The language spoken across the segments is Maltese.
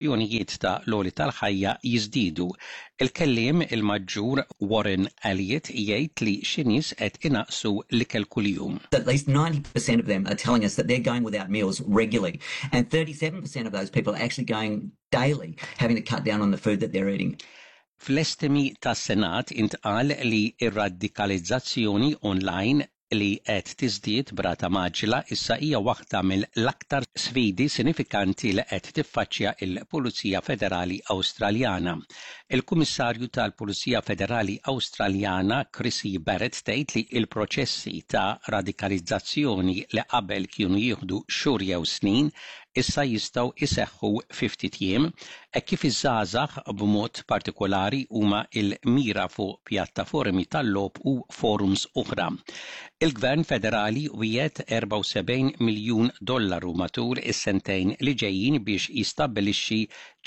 Jonijiet ta' l-għoli tal-ħajja jiżdiedu. Il-kelliem il-Maġġur Warren Elliott jgħid li xi nies qed inaqqsu l-ikel kuljum. At least 90% of them are telling us that they're going without meals regularly and 37% of those people are actually going daily having to cut down on the food that they're eating. Fl-estimi tas-Senat intqal li r-radikalizzazzjoni online li qed tiżdied b'rata mgħaġġla issa hija waħda mill-aktar sfidi sinifikanti li qed tiffaċċja l-Pulizija Federali Awstraljana. Il-Kummissarju tal-Pulizija Federali Awstraljana Chrissy Barrett tgħid li l-proċessi ta' radikalizzazzjoni li qabel kienu jieħdu xhur jew snin issa jistgħu jseħħu fi ftit jiem, hekk kif iż-żgħażagħ b'mod partikolari huma l-mira fuq pjattaformi tal-logħob u forums oħra. Il-Gvern Federali wiegħed 74 miljun dollaru matul is-sentejn li ġejjin biex jistabbilixxi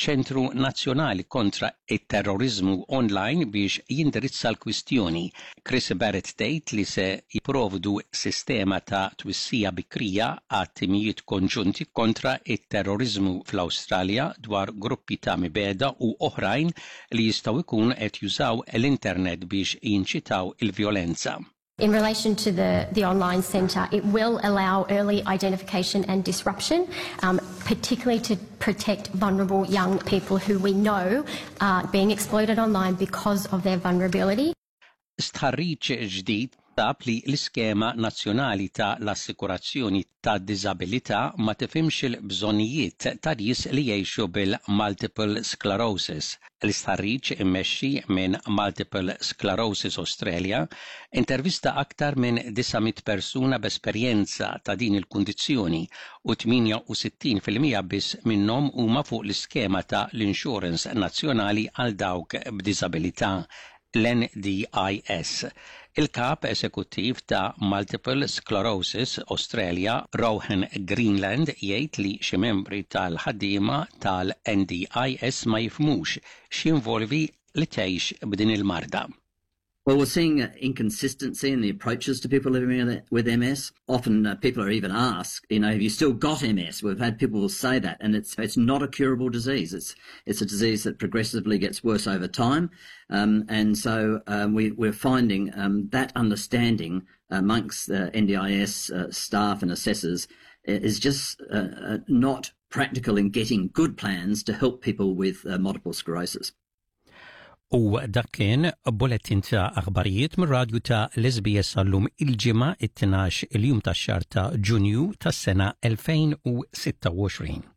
ċentru nazzjonali kontra t-terroriżmu online biex jindirizza l-kwistjoni. Chris Barrett tgħid li se jipprovdu sistema ta' twissija bikrija għat-timijiet konġunti kontra t-terroriżmu fl-Awstralja dwar gruppi ta' mibegħda u oħrajn li jistgħu jkunu qed jużaw l-internet biex jinċitaw il-vjolenza. In relation to the, the online centre, it will allow early identification and disruption, um, particularly to protect vulnerable young people who we know are being exploited online because of their vulnerability. Stħarriġ ġdid sab li l-iskema nazzjonali ta' l-assikurazzjoni tad-diżabilità ma tifhimx il-bżonnijiet ta' nies li jgħixu bil-multiple sclerosis. L-istħarriġ immexxi minn Multiple Sclerosis Australia intervista aktar minn 900 persuna b'esperjenza ta' din il-kundizzjoni u 68% biss minnhom huma fuq l-iskema ta' l-insurance nazzjonali għal dawk b'diżabilità, l-NDIS. Il-Kap Esekuttiv ta' Multiple Sclerosis Australia, Rohan Greenland, jgħid li xi membri tal-ħaddiema tal-NDIS ma jifhmux x'jinvolvi li tgħix b'din il-marda. Well, we're seeing inconsistency in the approaches to people living with MS. Often uh, people are even asked, you know, have you still got MS? We've had people say that, and it's it's not a curable disease. It's it's a disease that progressively gets worse over time, um, and so um, we, we're finding um, that understanding amongst uh, NDIS uh, staff and assessors is just uh, uh, not practical in getting good plans to help people with uh, multiple sclerosis. U dak kien bulletin ta' aħbarijiet mir-radju ta' l-SBS għallum il-ġimgħa it-12 il-jum tax-xahar ta' Ġunju tas-sena 2026.